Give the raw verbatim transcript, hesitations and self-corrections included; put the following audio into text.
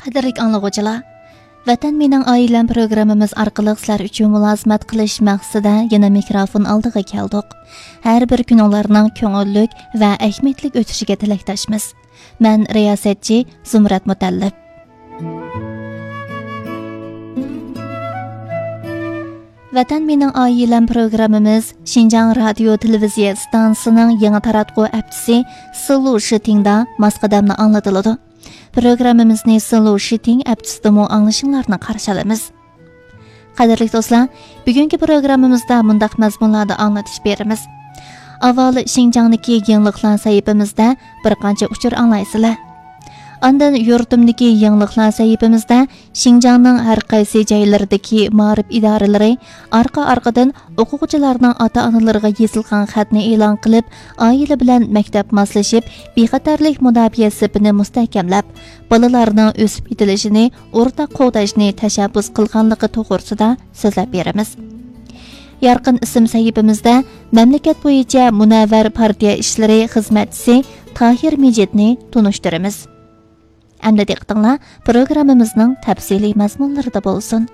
قەدىرلىك ئاڭلىغۇچىلار، ۋەتەن مېنىڭ ئائىلەم پروگراممىمىز ئارقىلىق سىلەر ئۈچۈن مۇلازىمەت قىلىش مەقسىتىدە يەنە مىكروفون ئالدىغا كەلدۇق. ھەر بىر كۈنۈڭلارنىڭ كۆڭۈللۈك ۋە ئەھمىيەتلىك ئۆتۈشىگە تىلەكداشمىز. مەن رىياسەتچى زۇمرەت مۇتەللىپ. ۋەتەن مېنىڭ ئائىلەم پروگراممىمىز شىنجاڭ رادىيو تېلېۋىزىيە ئىستانسىسىنىڭ يېڭى تاراتقۇ ئەپچىسى سىلۇ شىتىڭدا ماس قەدەمدە ئاڭلىتىلىدۇ. پروگراممىمىزنى سىلۇ شىتىڭ ئەپچىسىدىمۇ ئاڭلىشىڭلارنى قارشى ئالىمىز. قەدىرلىك دوستلار، بۈگۈنكى پروگراممىمىزدا مۇنداق مەزمۇنلاردا ئاڭلىتىش بېرىمىز. ئاۋۋال شىنجاڭدىكى يېڭىلىقلار سەھىپىمىزدە بىر قانچە ئۇچۇر ئاڭلايسىلەر. ئاندىن يۇرتۇمدىكى يېڭىلىقلار سەھىپىمىزدە شىنجاڭنىڭ ھەر قايسى جايلىرىدىكى مائارىپ ئىدارىلىرى ئارقا-ئارقىدىن ئوقۇغۇچىلارنىڭ ئاتا-ئانىلىرىغا يېزىلغان خەتنى ئېلان قىلىپ، ئائىلە بىلەن مەكتەپ ماسلىشىپ، بىخەتەرلىك مۇداپىئە سېپىنى مۇستەھكەملەپ، بالىلارنىڭ ئۆسۈپ يېتىلىشىنى ئورتاق قوغداشنى تەشەببۇس قىلغانلىقى توغرىسىدا سۆزلەپ بېرىمىز. يارقىن ئىسىم سەھىپىمىزدە مەملىكەت بويىچە مۇنەۋۋەر پارتىيە ئىشلىرى خىزمەتچىسى تاھىر مىجىتنى تونۇشتۇرىمىز. ئەمدى دىققىتىڭلار پروگراممىمىزنىڭ تەپسىلىي مەزمۇنلىرىدا بولسۇن.